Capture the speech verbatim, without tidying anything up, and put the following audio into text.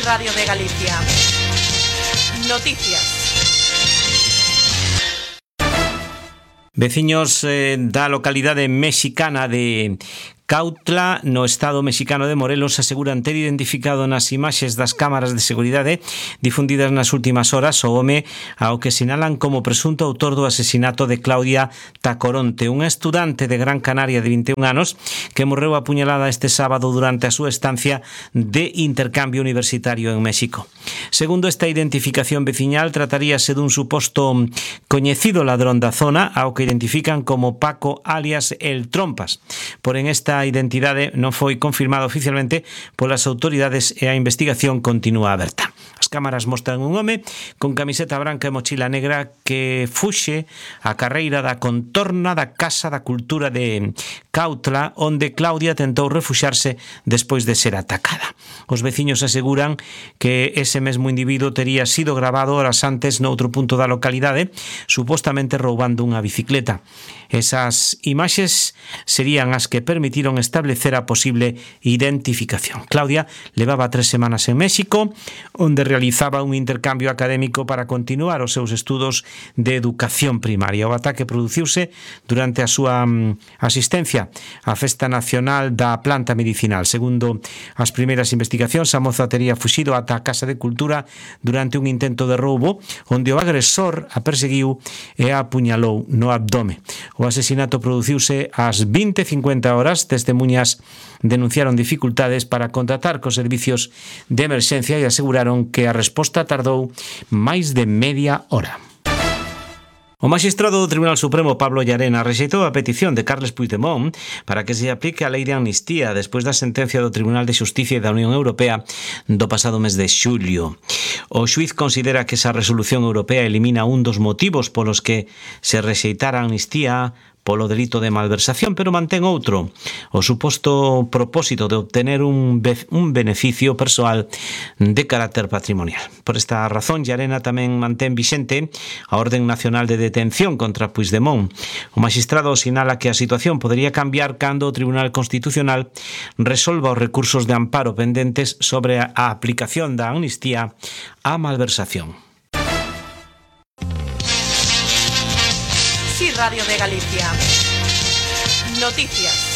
Radio de Galicia. Noticias. Veciños eh, da localidade mexicana de Cautla, no estado mexicano de Morelos, aseguran ter identificado nas imaxes das cámaras de seguridade difundidas nas últimas horas o home ao que sinalan como presunto autor do asesinato de Claudia Tacoronte, unha estudante de Gran Canaria de vinte e un anos que morreu apuñalada este sábado durante a súa estancia de intercambio universitario en México. Segundo esta identificación veciñal, trataríase dun suposto coñecido ladrón da zona ao que identifican como Paco alias El Trompas. Porén, esta identidade non foi confirmada oficialmente polas autoridades e a investigación continúa aberta. As cámaras mostran un home con camiseta branca e mochila negra que fuxe a carreira da contorna da Casa da Cultura de Cautla, onde Claudia tentou refuxarse despois de ser atacada. Os veciños aseguran que ese mesmo individuo tería sido grabado horas antes noutro punto da localidade, supostamente roubando unha bicicleta. Esas imaxes serían as que permitiron establecer a posible identificación. Claudia levaba tres semanas en México, onde realizaba un intercambio académico para continuar os seus estudos de educación primaria. O ataque produciuse durante a súa asistencia á Festa Nacional da Planta Medicinal. Segundo as primeiras investigacións, a moza tería fuxido ata a Casa de Cultura durante un intento de roubo, onde o agresor a perseguiu e a apuñalou no abdome. O asesinato produciuse ás vinte e cincuenta horas. Testemuñas denunciaron dificultades para contactar cos servicios de emerxencia e aseguraron que a resposta tardou máis de media hora. O magistrado do Tribunal Supremo, Pablo Llarena, rexeitou a petición de Carles Puigdemont para que se aplique a lei de amnistía despois da sentencia do Tribunal de Xusticia da Unión Europea do pasado mes de xullo. O xuiz considera que esa resolución europea elimina un dos motivos polos que se rexeitara a amnistía polo delito de malversación, pero mantén outro, o suposto propósito de obtener un, be- un beneficio persoal de carácter patrimonial. Por esta razón, Llarena tamén mantén vixente a Orden Nacional de Detención contra Puigdemont. O magistrado sinala que a situación podería cambiar cando o Tribunal Constitucional resolva os recursos de amparo pendentes sobre a aplicación da amnistía á malversación. Sí, Radio de Galicia. Noticias.